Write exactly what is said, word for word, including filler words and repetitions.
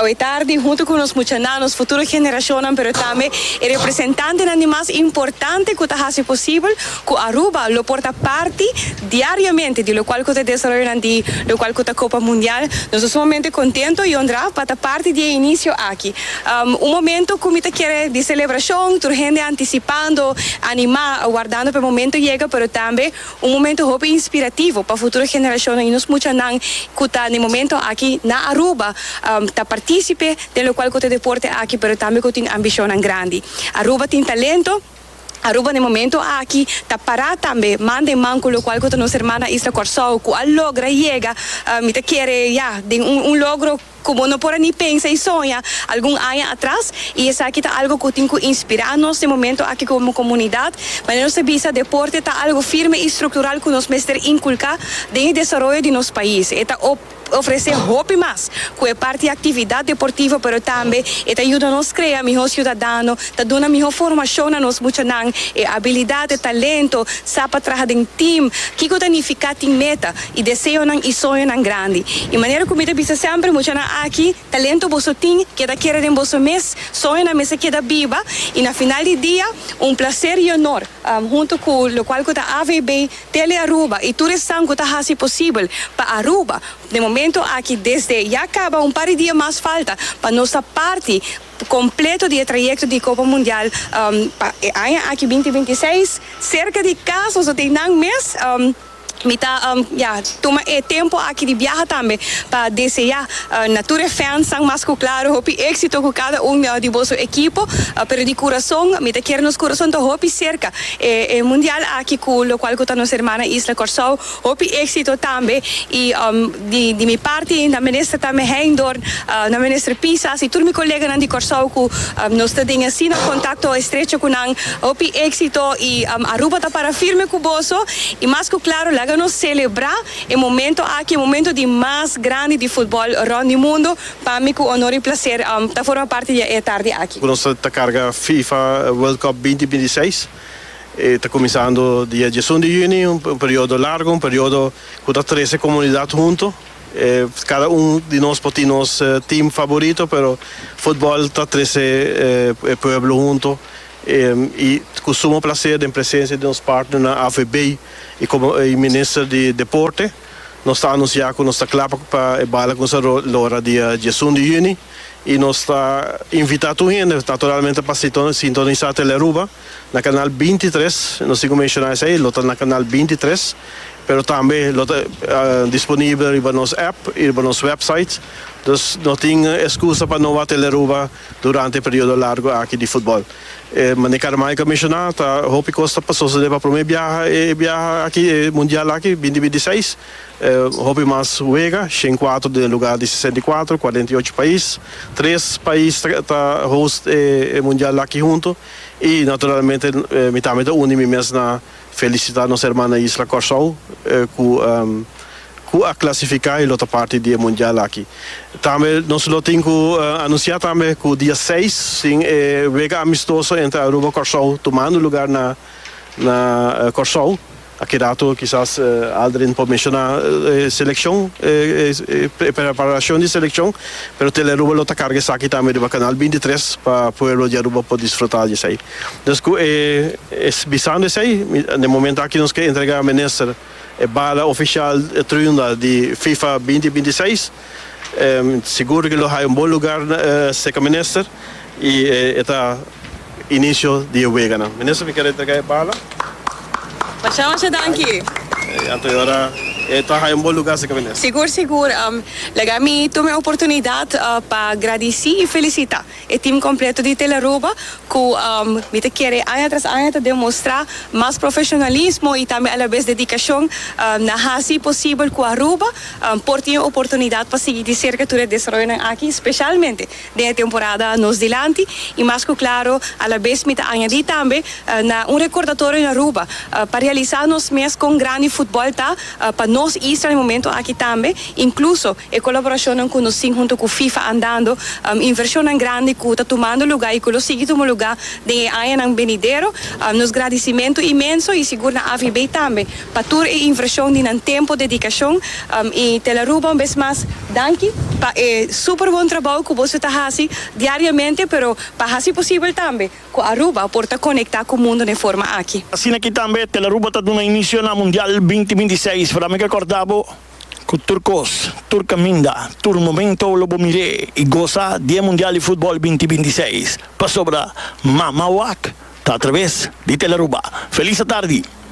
Awe tardi, hunto cu nos muchanan, nos futuro generacion, pero tambe e representantenan mas importante cu ta haci posibel cu Aruba lo por ta parti diariamente di locual cu ta desaroyo di locual cu ta Copa Mundial. Nos ta sumamente contento y honra pa ta parti di inicio aki. Um, un momento cu mi ta kere di celebracion, tur hende anticipando, anima, wardando pa e momento yega, pero tambe un momento hopi inspirativo pa futuro generacion y nos muchanan cu ta na momento aki na Aruba, um, ta participe di locual cu ta deporte aki, pero tambe cu tin ambicion grandi. Aruba tin talento, Aruba na momento aki ta para tambe man den man cu locual cu nos ruman isla Corsou cu a logra yega, uh, mi ta kere ya di un, un logro cu no por ni pensa y soña algun aña atras, y esaki ta algo cu tin cu inspira nos na momento aki como comunidad. Mas nos bisa, deporte ta algo firme y structural cu nos mester inculca den desaroyo di nos pais. E ta ofrece hopi mas cu e parti actividad deportivo, pero tambe e ta yuda nos crea miho ciudadano, ta duna miho formacion na nos muchanan, e habilidad, e talento, sa pa traha den team, kico ta significa tin meta y deseonan y soñonan grandi. Y manera cu mi ta bisa semper, muchanan aki, talento boso tin, keda kere den boso mes, soñonan mester keda biba, y na final di dia, un placer y honor, um, hunto cu locual cu ta A V B, Tele Aruba y tur esnan cu ta haci posibel pa Aruba, na momento aki, desde ya caba un par di dia mas falta pa nos parti completo di trayecto di Copa Mundial um, pa aña aki binti bintiseis, cerca di cas, so tin nan mes um, mi ta um, ja, tuma e tempo aki di biaha tambe pa desea uh, na tur fans mas cu claro hopi exito cu cada un uh, di boso ekipo, uh, pero di curason mi ta kere nos curason ta hopi cerca e, e mundial aki cu locual cu ta nos ruman isla Corsou. Hopi exito tambe y um, di, di mi parti na minister tambe Heydoorn, uh, na minister Pisas y tur mi coleganan di Corsou cu um, nos ta den asina contacto estrecho cu nan, hopi exito y um, Aruba ta para firme cu boso. Y mas cu claro, laga nos celebra e momento aki, e momento di mas grandi di futbol rond di mundo. Pa mi cu honor y placer um, ta forma parti di e tardi aki. Nos ta carga FIFA World Cup binti bintiseis. Ta cuminsando dia diesun di juni, un, un periodo largo, un periodo cu ta trece comunidad hunto. Eh, cada un di nos por tin nos eh, team favorito, pero futbol ta trece eh, pueblo hunto. Eh, y cu sumo placer den presencia di nos partner na A V B y como e minister di Deporte, nos ta anunciando cu nos ta cla pa e bala cuminsa lora dia diesun di juni y nos ta invitando hende, naturalmente, pa sintonisa Telearuba na canal bintitres, no sigo menciona esey, lo ta na canal bintitres, pero tambe lo ta uh, disponibel riba nos app y riba nos website. Dus no tin excusa pa no wak Telearuba durante e periodo largo aki di futbol. Eh, manera Carmaica a menciona, ta hopi cos ta sucede pa prome biaha e biaha aki e mundial aki binti bintiseis. Eh, hopi mas wega, shen cuater den lugar di sesenta y cuater, cuarenta y ocho pais, tres pais ta host e, e mundial aki hunto y naturalmente eh, mi tambe ta uni mi mes na felicita nos ruman isla Corsou eh, cu um, cu a clasifica y lo ta parti di mundial aki. Tambe nos lo tin cu uh, anuncia tambe cu dia seis tin eh, wega amistoso entre Aruba y Corsou tumando lugar na na uh, Corsou. Aki rato kisas uh, Aldrin por menciona uh, seleccion, eh, eh, preparacion di seleccion, pero Telearuba lo ta carga esaki tambe riba canal bintitres pa pueblo di Aruba por disfruta di esey. Dus eh, bisando esey, na momento aki nos kier entrega minister e bala oficial triunda di FIFA binti bintiseis. Um, sigur cu lo haya un bon lugar uh, cerca minister y eh, ta inicio di wega. Minister, mi kier entrega e bala. Masha masha danki. Anto awor ta un bon lugar cerca minister. Sigur, sigur. Um, laga mi tuma e oportunidad uh, pa gradici y felicita e team completo di Telearuba cu um, mi ta kere aña tras aña ta demostra mas profesionalismo y tambe a la vez dedicacion um, na haci posibel cu Aruba um, por tin oportunidad pa sigui di cerca tur e desaroyo aki, especialmente den temporada nos dilanti. Y mas cu claro, a la vez mi ta añadi tambe uh, na un recordatorio na Aruba uh, pa realisa nos mes con grandi futbol ta uh, pa Nos isla na e momento aki tambe, incluso e colaboracion cu nos tin hunto cu FIFA andando, um, inversion grandi cu ta tumando luga y cu lo sigui tuma luga den aña venidero. Um, nos gradicimento inmenso y sigur na A V B tambe, pa tur e inversion di nan tempo, dedicacion um, y Telearuba un bes mas, danki pa e super bon trabou cu boso ta haci diariamente, pero pa haci posibel tambe cu Aruba por ta conecta cu mundo di forma aki. Asina aki tambe Telearuba ta duna inicio na Mundial dos mil bintiseis. Pa mi corda bo cu tur cos, tur caminda, tur momento lo bo mira y goza di Mundial di Futbol dos mil bintiseis. Pasobra, Mama wak, ta atraves di Telearuba. Feliz tardi.